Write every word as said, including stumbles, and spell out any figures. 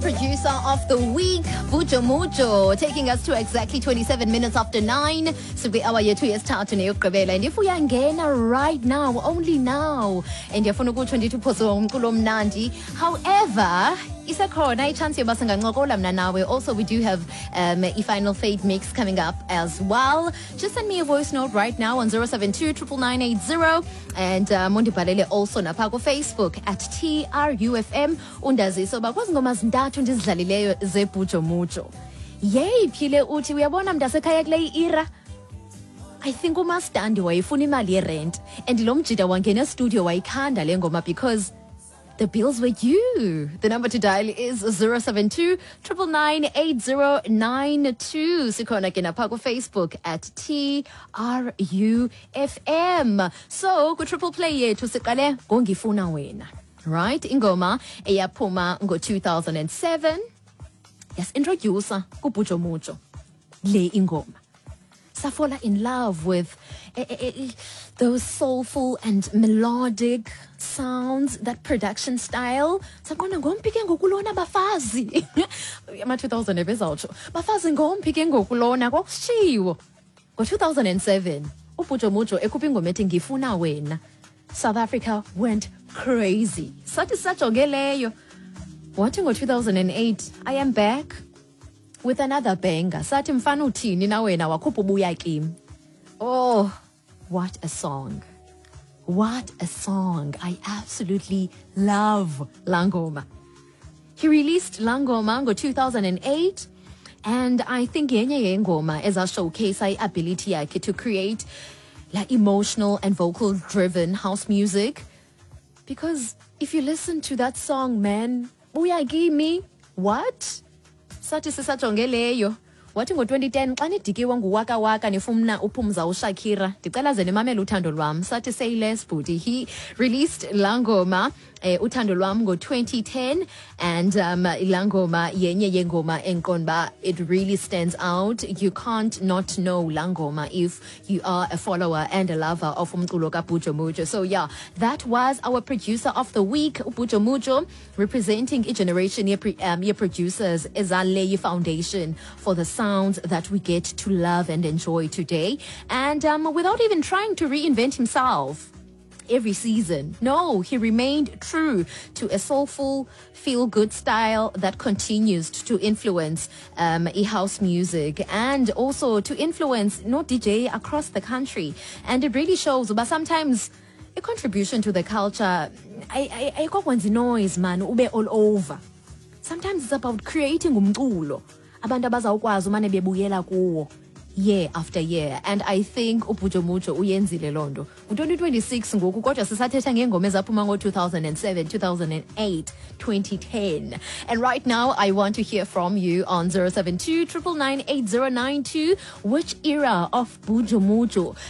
Producer of the week, Bujo Mujo, taking us to exactly twenty-seven minutes after nine. Sikwi-hour yethu yesithathu neyokugqibela. And if uyangena right now, only now, and ndiyafuna ukutsho ndithi uphoswe umculo omnandi. However, isekhona ichance yoba singancokola mna nawe. Also, we do have um, i-final fade mix coming up as well. Just send me a voice note right now on zero seven two nine nine nine eight zero and um, undibhalele also napha kuFacebook at T R U F M, undazise uba kwezi ngoma zintathu ndizidlalileyo zeBhujo Mujo, yeyiphi le uthi uyabona mntasekhaya kule ira. I think umastandi wayefuna imali yerent and lo mjida wangena estudio wayikhanda le ngoma because the bills were due. The number to dial is zero seven two nine nine nine eight zero nine two. Sikhona ke napha ku-Facebook at T R U F M. So, ku-triple play yethu siqale ngoNgifuna Wena. Right? Ingoma eyaphuma ngo-two thousand seven. Yasi-introduce kuBhujo Mujo. Le ingoma. Safalla in love with eh, eh, eh, those soulful and melodic sounds, that production style. Saqonda ngomphi ke ngoku lona bafazi? Ama-two thousand ebezawutsho. Bafazi, ngomphi ke ngoku lona? Kwakusitshiwo. Ngo-two thousand seven, uBhujo Mujo ekhupha ingoma ethi Ngifuna Wena. South Africa went crazy. Sathi sajonge leyo. Wathi ngo-two thousand eight, "I am back with another banger." Sathi mfana uthini na wena? Wakhupha uBuya Kimi. Oh, what a song. What a song. I absolutely love laa ngoma. He released laa ngoma ngo-two thousand eight and I think yenye yengoma eza-showcase i-ability yakhe to create la emotional and vocal driven house music, because if you listen to that song, man, Buya Kimi, what? Sathi sisajonge leyo, wathi ngo-twenty ten, "Xa nidikiwe nguWaka Waka nifuna uphumza uShakira, ndicela ze nimamele Uthando Lwam." Sathi say less, bhuti. He released laa ngoma eh, Uthando Lwam ngo-twenty ten and um, laa ngoma yenye yengoma endiqonda uba it really stands out. You can't not know laa ngoma if you are a follower and a lover of umculo kaBhujo Mujo. So yeah, that was our producer of the week, uBhujo Mujo, representing igeneration ye, um, ye-producers ezalay foundation for the sounds that we get to love and enjoy today, and um, without even trying to reinvent himself every season. No, he remained true to a soulful, feel good style that continues to influence um, e-house music and also to influence not D J across the country. And it really shows, but sometimes a contribution to the culture, ayikokwenza noise, man, ube all over. Sometimes it's about creating umculo abantu abazawukwazi umane bebuyela kuwo year after year, and I think uBhujo Mujo uyenzile loo nto. Ngu-twenty twenty-six ngoku kodwa sisathetha ngeengoma ezaphuma ngo-two thousand seven, two thousand eight, twenty ten. And right now I want to hear from you on zero seven two nine nine nine eight zero nine two. Which era of Bujo Mujo